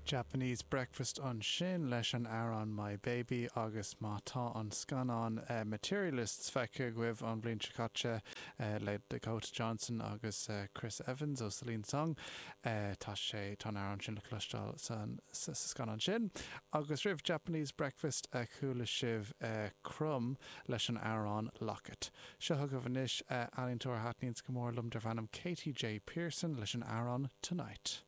Japanese Breakfast ansin leis an amhrán My Baby agus má tá an scannán Materialists feicthe agaibh an bhliain seo caite le Dakota Johnson agus Chris Evans ó Celine Song, tá sé, tá an amhrán sin le cloisteáil sa scannán sin. Agus roimh Japanese Breakfast chuala sibh Crumb leis an amhrán Locket. Seo chugaibh anois ealaíontóir a thaitníonns go mór liom darb ainm Katy J Pearson leis an amhrán Tonight.